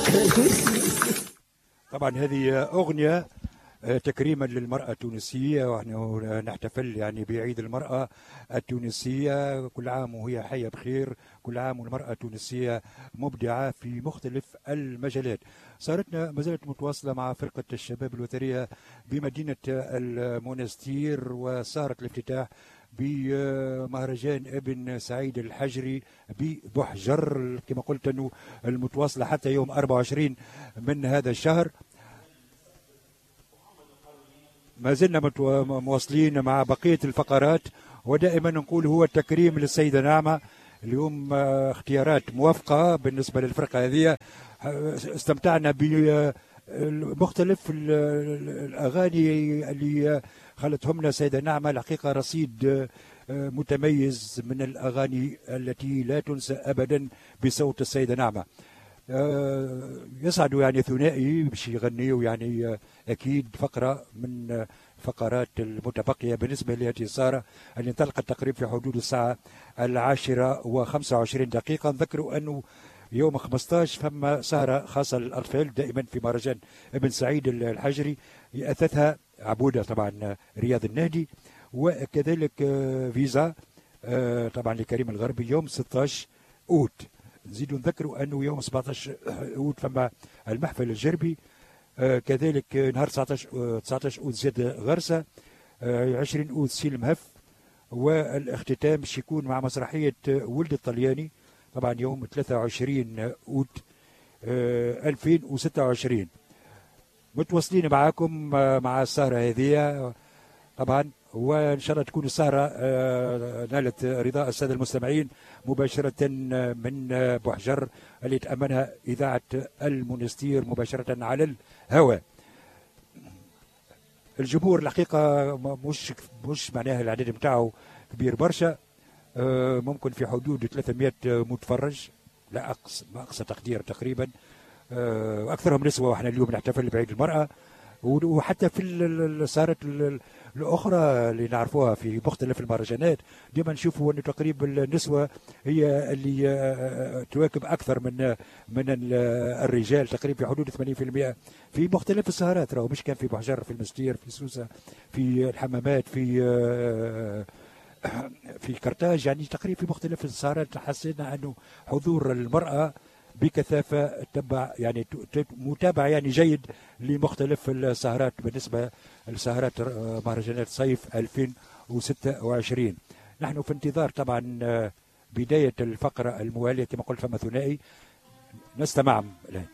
شكرا. طبعا هذه أغنية تكريما للمرأة التونسية، ونحن نحتفل يعني بعيد المرأة التونسية، كل عام وهي حية بخير، كل عام والمرأة التونسية مبدعة في مختلف المجالات. سهرتنا ما زالت متواصلة مع فرقة الشباب الوترية بمدينة المونستير، وسهرة الافتتاح بمهرجان ابن سعيد الحجري ببحجر كما قلت أنه المتواصلة حتى يوم 24 من هذا الشهر. ما زلنا مواصلين مع بقية الفقرات، ودائما نقول هو التكريم للسيدة نعمة. اليوم اختيارات موافقة بالنسبة للفرقة هذه، استمتعنا بمختلف الأغاني اللي خلتهم لنا السيدة نعمة. الحقيقة رصيد متميز من الأغاني التي لا تنسى أبدا بصوت السيدة نعمة. يسعدوا يعني ثنائي باش يغنيوا، يعني أكيد فقرة من فقرات المتبقية بالنسبة لهذه السهرة اللي انطلقت تقريبا في حدود الساعة 10:25. نذكروا أنه يوم 15 فما سهرة خاصة للأطفال دائما في مهرجان ابن سعيد الحجري يأثثها عبودة طبعا رياض النهدي، وكذلك فيزا طبعا لكريم الغربي يوم 16 أوت. نزيدوا نذكروا أنه يوم 17 أوت فما المحفل الجربي، كذلك نهار 19 أوت زاد غرسة، 20 أوت سيل مهف، والاختتام باش يكون مع مسرحية ولد الطلياني طبعا يوم 23 أوت 2026. متواصلين معاكم مع السهرة هذه طبعا، وإن شاء الله تكون السهرة نالت رضاء السادة المستمعين مباشرة من بوحجر اللي تأمنها إذاعة المونستير مباشرة على الهواء. الجمهور الحقيقة مش معناها العدد نتاعو كبير برشا، ممكن في حدود 300 متفرج، لا أقصى تقدير تقريبا، أكثرهم نسوة، وإحنا اليوم نحتفل بعيد المرأة. وحتى في السهرات الأخرى اللي نعرفوها في مختلف المهرجانات ديما نشوفوا أنه تقريبا النسوة هي اللي تواكب أكثر من الرجال، تقريبا في حدود 80% في مختلف السهرات، راهو مش كان في بحجر، في المستير، في سوسة، في الحمامات، في كرتاج، يعني تقريبا في مختلف السهرات حسينا أنه حضور المرأة بكثافة تبع يعني متابعة يعني جيد لمختلف السهرات بالنسبة لسهرات مهرجانات صيف 2026. نحن في انتظار طبعا بداية الفقرة الموالية كما قلت فما ثنائي نستمع الآن.